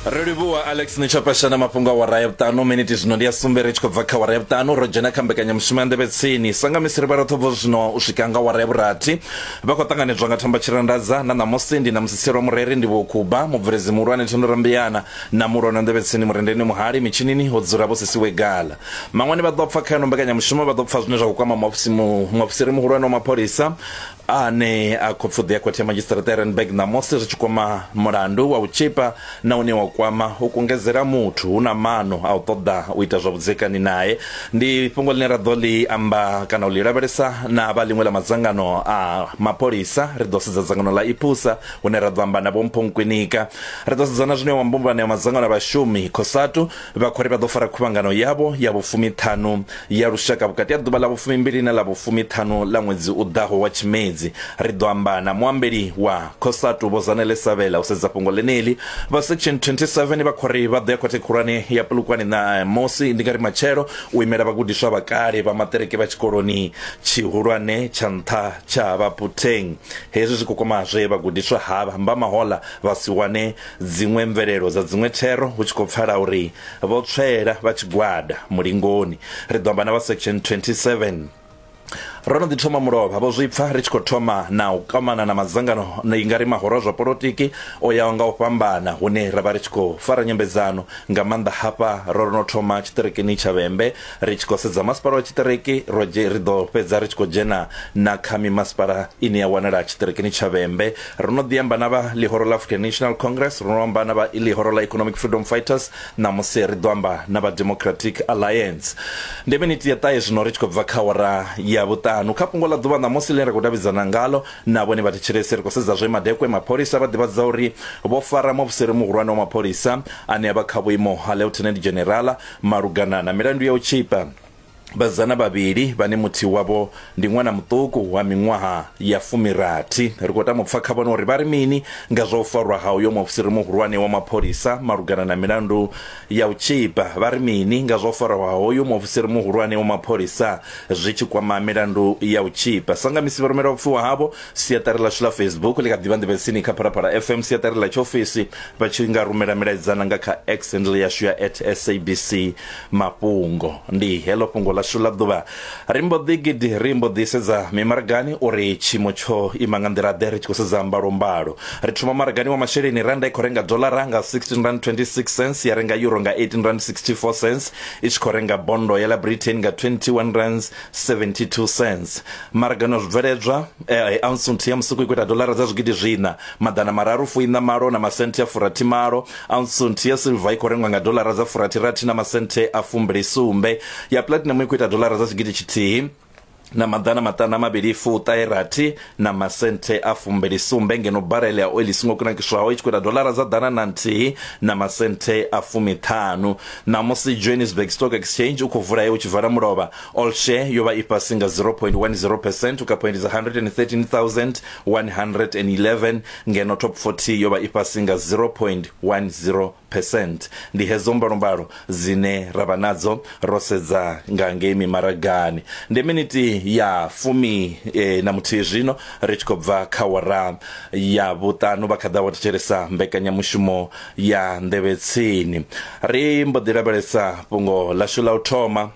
Ri livhuwa Alex Nitshapasha na mafhungo a wara ya vhuṱanu miniti zwino ndi ya sumbe ri tshi khou bva kha wara ya vhuṱanu ro dzhena kha mbekanyamushumo ya nḓevhe tsini sa nga misi ri vha roṱhe bva zwino u swika nga wara ya vhurathi vha khou ṱanganedzwa nga thamba tshirandadza na ṋamusi ndi na musiselo mureri ndi vho Kuba mubveledzi muhulwane Thendo Rambiyana na muhulwane wa nḓevhe tsini Murendeni Muhali mitshinini ho dzula vho Sisiwe Gala maṅwani vha ḓo pfa kha ino mbekanyamushumo vha ḓo pfa zwine zwa khou kwama muofisiri muhulwane wa mapholisa ane a khou pfuḓi ya khothe ya madzhisiṱiraṱa ya Randburg ṋamusi zwi tshi kwama mulandu wa u tshipa na une wa kwama u kungedzela muthu hu na maano a u ṱoḓa u ita zwa vhudzekani nae. Ndi fhungo ḽine ra ḓo ḽi amba kana u ḽi lavhelesa na vha ḽiṅwe ḽa madzangano a mapholisa. Ri ḓo sedza dzangano ḽa IPUSA hune ra ḓo amba na Vho Mpho Nkwinika. Ri ḓo sedza na zwine wa mbumbano ya madzangano a vhashumi COSATU Vha khou ri vha ḓo fara khuvhangano yavho ya vhufumiṱhanu ya lushaka vhukati ha ḓuvha ḽa vhufumimbili na ḽa vhufumiṱhanu ḽa ṅwedzi u ḓaho wa Tshimedzi. Ri ḓo amba na muambeli wa Cosatu Vho Zanele Sabela u sedza fhungo ḽeneḽi. Vha Section 27 vha khou ri vha ḓo ya khothe khulwane ya Polokwane ṋamusi, ndi nga ri matshelo, u imela vhagudiswa vha kale vha maṱiriki vha tshikoloni tshihulwane tsha nṱha tsha Baphutheng. Hezwi zwi khou kwama zwe vhagudiswa havha mba mahoḽa vha si wane dziṅwe mvelelo dza dziṅwe thero hu tshi khou pfala uri vho tswela vha tshigwada mulingoni. Ri ḓo amba na vha Section 27. Ro no ḓi thoma mulovha vho zwi pfa ri tshi khou thoma na u kwamana na madzangano i nga ri mahoro a zwa polotiki o yaho nga u fhambana hune ra vha ri tshi khou fara nyambedzano nga maanḓa hafha ro no thoma tshiṱirikini tsha Vhembe ri tshi khou sedza masipala wa tshiṱiriki ro ri ḓo fhedza ri tshi khou dzhena na kha mimasipala ine ya wanala tshiṱirikini tsha Vhembe. Ro no ḓi amba na vha ḽihoro ḽa African National Congress, ro no amba na vha ḽihoro ḽa Economic Freedom Fighters, ṋamusi ri ḓo amba na vha Democratic Alliance. Ndi miniti ya ṱahe zwino ri tshi khou bva kha awara ya vhuṱanu. Kha fhungo ḽa ḓuvha ṋamusi ḽine ra khou davhidzana ngalo na vhone vhathetshelesi, ri khou sedza zwe madekwe mapholisa vha ḓivhadza uri vho fara muofisiri muhulwane wa mapholisa ane a vha kha vhuimo ha Lieutenant General malugana na milandu ya u tshipa vhasidzana vhavhili vhane muthihi wavho ndi ṅwana muṱuku wa miṅwaha ya fumirathi. Ri khou tama u pfa kha vhone uri vha ri mini nga zwa u farwa ha uyo muofisiri muhulwane wa mapholisa malugana na milandu ya u tshipa. Vha ri mini nga zwa u farwa ha hoyu muofisiri muhulwane wa mapholisa zwi tshi kwama milandu ya u tshipa. Sa nga misi vha rumela vhupfiwa havho Siaṱari ḽashu ḽa Facebook ḽi kha ḓi vha nḓevhetsini kha Phalaphala FM. Siaṱari ḽa tshiofisi vha tshi nga rumela milaedzana nga kha X handle yashu ya at SABC Mafhungo. Ndi heḽo fhungo ḽashu ḽa ḓuvha. Ri mbo ḓi gidi ri mbo ḓi sedza mimaragani uri tshiimo tsho ima nga nḓila ḓe ri tshi khou sedza mbalombalo. Ri thoma maragani wa masheleni rannda i khou renga doḽara nga 16 rand 26 cents ya renga euro nga 18 rand 64 cents i tshi khou renga bondo ya ḽa Britain nga 21 rands 72 cents. Maragani wa zwibveledzwa, ounce nthihi ya musuku i khou ita doḽara dza zwigidi zwiṋa, maḓana mararu fuiṋa malo na masenthe a furathi malo. Ounce nthihi ya silver i khou rengwa nga doḽara dza furathi rathi na masenthe a fumbili sumbe. Ya platinum i khou ita doḽara dza tshigidi tshithihi na maḓana maṱanu a mavhili fuṱahe rathi na masenthe a fumbili sumbe, ngeno barele ya oili i songo kunakiswaho i tshi khou ita doḽara dza ḓana na nthihi na masenthe a fumiṱhanu. Ṋamusi Johannesburg Stock Exchange u khou vula he u tshi vala mulovha All share yo vha i fhasi nga 0.10 percent u kha phoindi dza 113,111 ngeno top 40 yo vha i fhasi nga 0.10 percent. Ndi hedzo mbalombalo dzine ra vha nadzo ro sedza nga ngei mimaragani. Ndi miniti ya fumi na muthihi zwino ri tshi khou bva kha wara ya vhuṱanu vha kha ḓa wa thetshelesa mbekanyamushumo ya Nḓevhe Tsini. Ri mbo ḓi lavhelesa fhungo ḽashu ḽa u thoma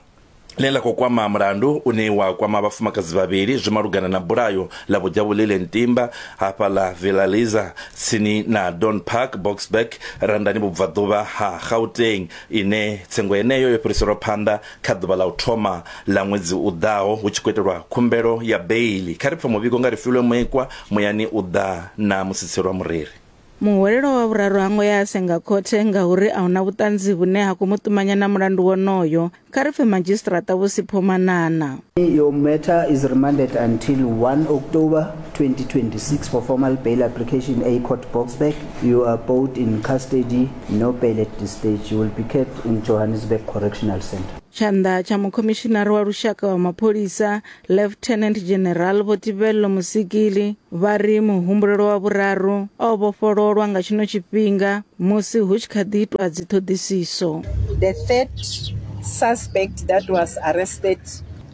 ḽine ḽa khou kwama mulandu une wa kwama vhafumakadzi vhavhili zwi malugana na bulayo ḽa Vho Jabulile Ntimba hafhaḽa Villa Liza tsini na Don Park, Boksburg, Randani vhubvaḓuvha ha Gauteng ine tsengo yeneyo yo fhiriselwa phanḓa kha ḓuvha ḽa u thoma ḽa ṅwedzi u ḓaho hu tshi khou itelwa khumbelo ya beiḽi. Kha ri pfe muvhigo nga Refilwe Moekwa muyani u ḓa na Musitselwa Mureri. Muhwelelwa wa vhuraru ha ngo ya a senga khothe ngauri a huna vhuṱanzi vhune ha khou mu ṱumanya na mulandu wonoyo. Kha ri pfe Madzhisiṱiraṱa Vho Sipho Manana. Your matter is remanded until 1 October 2026 for formal bail application A Court Boksburg. You are both in custody, no bail at this stage. You will be kept in Johannesburg Correctional Centre. Tshanḓa tsha mukhomishinari wa lushaka wa mapholisa Lieutenant General Vho Tibello Mosikili vha ri muhumbulelwa wa vhuraru o vhofhololwa nga tshino tshifhinga musi hu tshi kha ḓi itwa dziṱhoḓisiso. The third suspect that was arrested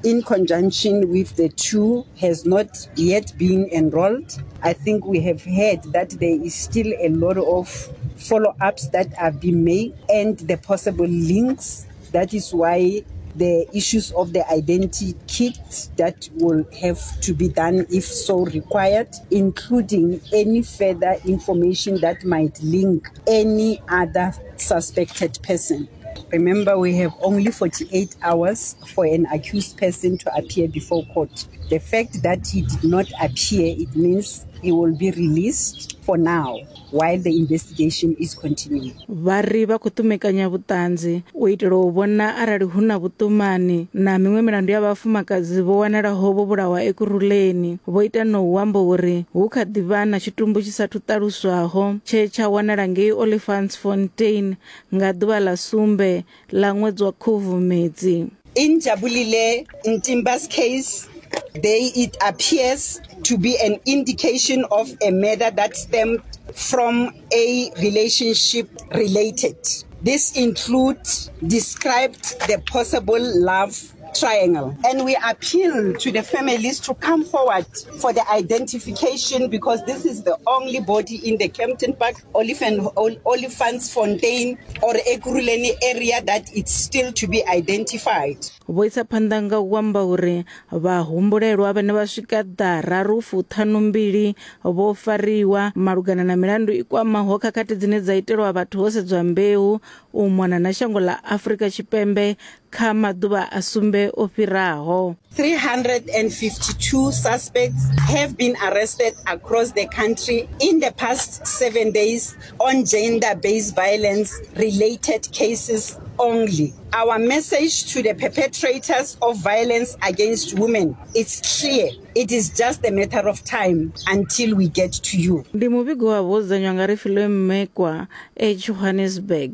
in conjunction with the two has not yet been enrolled. I think we have heard that there is still a lot of follow-ups that have been made and the possible links. That is why the issues of the identity kit that will have to be done if so required, including any further information that might link any other suspected person. Remember, we have only 48 hours for an accused person to appear before court. The fact that he did not appear, it means he will be released for now while the investigation is continuing. Vha ri vha khou ṱumekanya vhuṱanzi u itela u vhona arali hu na vhuṱumani na miṅwe milandu ya vhafumakadzi vho wanalaho vho vhulawa Ekurhuleni. Vho ita na u amba uri hu kha ḓi vha na tshitumbu tshi sathu ṱaluswaho tshe tsha wanala ngei Olifantsfontein nga ḓuvha ḽa sumbe ḽa ṅwedzi wa Khubvumedzi. In Jabulile Ntimba's case, they it appears to be an indication of a murder that stemmed from a relationship related. This includes described the possible love triangle. And we appeal to the families to come forward for the identification because this is the only body in the Kempton Park, Olifantsfontein or Ekurhuleni area that it's still to be identified. Vho isa phanḓa nga u amba uri vhahumbulelwa vhane vha swika ḓararu fuṱhanumbili vho fariwa malugana na milandu i kwamaho khakhathi dzine dza itelwa vhathu ho sedzwa mbeu u mona na shango ḽa Afrika Tshipembe kha maḓuvha a sumbe o fhiraho. 352 suspects have been arrested across the country in the past 7 days on gender-based violence related cases only. Our message to the perpetrators of violence against women is clear. It is just a matter of time until we get to you. Ndi muvhigo wa vho dzudzanywa nga Refilwe Mmekwa e Johannesburg.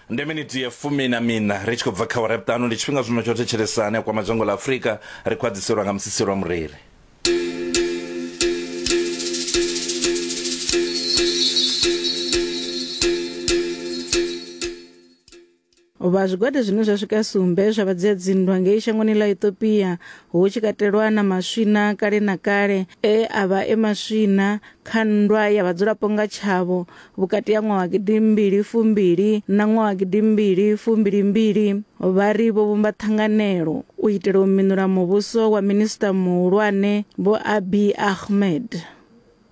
Ndi miniti ya fumi na mina ri tshi khou bva kha awara ya vhuṱanu ndi tshifhinga zwino tsho thetshelesa ane a kwama dzhango ḽa Afrika ri khou a ḓiselwa nga musisi lwa mureri. Vha zwigwada zwine zwa swika sumbe zwa vhadzia dzinndwa ngei shangoni ḽa Ethiopia hu tshi katelwa na maswina kale na kale e a vha e maswina kha nndwa ya vhadzulapo nga tshavho vhukati ha ṅwaha wa gidimbili fumbili na ṅwaha wa gidimbili fumbili mbili vha ri vho vhumba ṱhanganelo u itela u minula muvhuso wa minisiṱa muhulwane Vho Abiy Ahmed.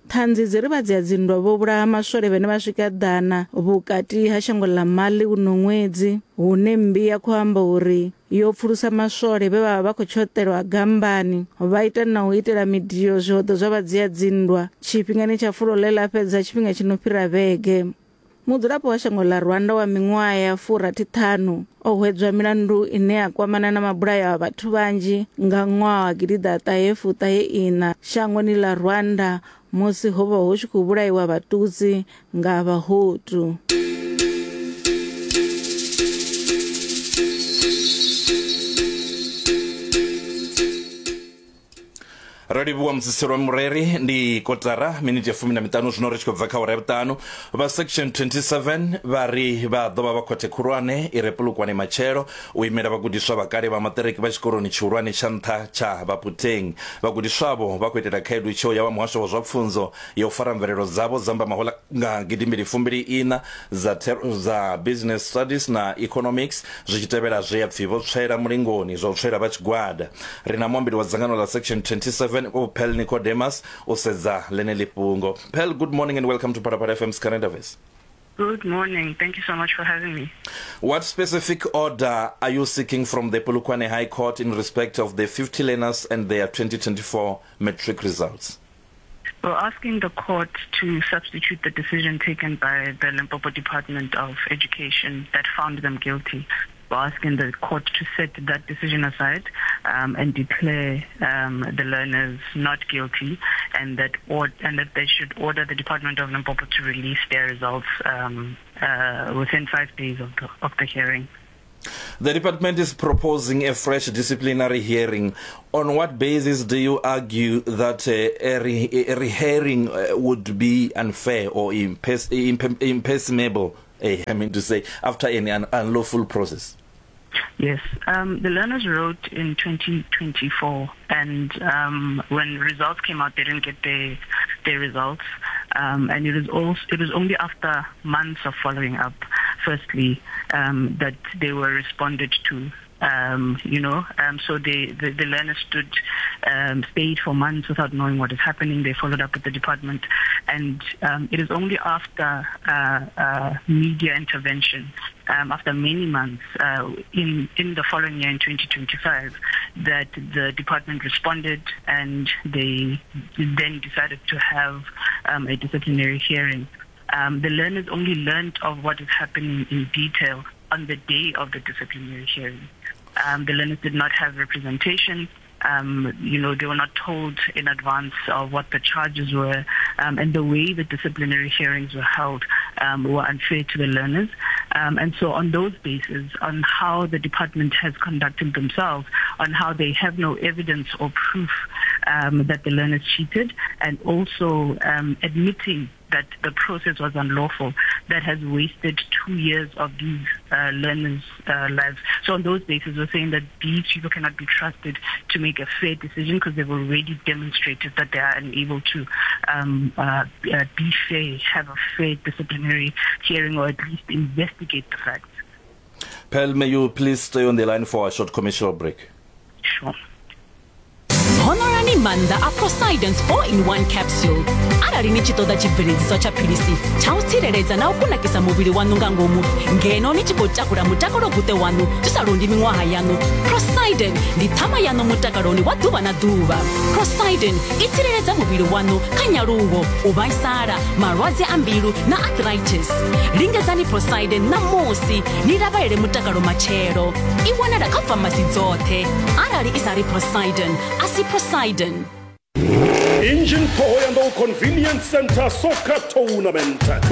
Ṱhanzi dzi ri vhadzia-dzinndwa vho vhulaha maswole vhane vha swika ḓana vhukati ha shango ḽa Mali uno ṅwedzi, hune mmbi ya khou amba uri yo pfulusa maswole vhe vha vha vha khou tshoṱelwa gambani, vha ita na u itela midio zwihoḓo zwa vhadzia-dzinndwa tshifhingani tsha fulo ḽe ḽa fhedza tshifhinga tshi no fhira vhege. Mudzulapo wa shango ḽa Rwanda wa miṅwaha ya furathi-ṱhanu o hwedzwa milandu ine ya kwamana na mabulayo a vhathu vhanzhi nga ṅwaha wa gidiḓaṱahe fuṱahe iṋa shangoni ḽa Rwanda musi ho vha hu tshi khou vhulaiwa Vhatutsi nga Vhahutu. Ro livhuwa musiselo wa mureri ndi kotara miniti ya fumi na miṱanu zwino ri tshi khou bva kha awara ya vhuṱanu. Vha section 27 vha ri vha ḓo vha vha khothe khulwane i re Polokwane matshelo u imela vhagudiswa vha kale vha maṱiriki vha tshikoloni tshihulwane tsha nṱha tsha Baputeng. Vhagudiswa avho vha khou itela khaedu tsheo ya vha muhasho wa zwa pfunzo ya u fara mvelelo dzavho dza mbamahola nga gidimbili fumbili iṋa dza thero dza Business Studies na Economics zwi tshi tevhela zwe ya pfi vho tswela mulingoni zwa u tswela vha tshigwada. Ri na muambeli wa dzangano ḽa Section 27 Vho Pearl Nicodemus u sedza ḽeneḽi fhungo. Pearl, good morning and welcome to Phalaphala FM's Current Affairs. Good morning. Thank you so much for having me. What specific order are you seeking from the Polokwane High Court in respect of the 50 learners and their 2024 matric results? We're asking the court to substitute the decision taken by the Limpopo Department of Education that found them guilty. We're asking the court to set that decision aside um, and declare um, the learners not guilty and that, or, and that they should order the Department of Limpopo to release their results um, uh, within five days of the, of the hearing. The department is proposing a fresh disciplinary hearing. On what basis do you argue that a, re a rehearing uh, would be unfair or impers imp impermissible, eh, I mean to say, after an un unlawful process? Yes, um, the learners wrote in 2024, and um, when results came out, they didn't get their, their results. Um, and it is also, it was only after months of following up, firstly, um, that they were responded to um, you know. Um, so they, the, the learners stood, um, stayed for months without knowing what is happening. They followed up with the department. And um, it is only after uh, uh, media intervention, um, after many months uh, in, in the following year, in 2025, that the department responded and they then decided to have um, a disciplinary hearing. Um, the learners only learned of what is happening in detail on the day of the disciplinary hearing. Um, the learners did not have representation. Um, you know, they were not told in advance of what the charges were, um, and the way the disciplinary hearings were held um, were unfair to the learners. Um, and so on those bases, on how the department has conducted themselves, on how they have no evidence or proof um, that the learners cheated, and also um, admitting that the process was unlawful that has wasted two years of these uh, learners' uh, lives. So on those bases, we're saying that these people cannot be trusted to make a fair decision because they've already demonstrated that they are unable to um, uh, uh, be fair, have a fair disciplinary hearing, or at least investigate the facts. Pearl, may you please stay on the line for a short commercial break? Sure. Honorani maanḓa a Prosidence 4-in-1 capsule arali ni tshi ṱoḓa tshibveledziswa tsha philisi tsha u tsireledza na u kunakisa muvhili waṋu nga ngomu ngeno ni tshi khou takula mutakalo guṱe waṋu zwi sa londi miṅwaha yaṋu Prosiden ndi ṱhama yaṋu mutakaloni wa ḓuvha na ḓuvha Prosiden i tsireledza muvhili waṋu kha nyaluwo u vhaisala malwadze a mbilu na arthritis lingedzani Prosiden ṋamusi ni lavhalele mutakalo matshelo i wanala kha famasi dzoṱhe arali i sa ri Poseidon a si Poseidon. Engine Thohoyandou Convenience Center Soccer Tournament 20.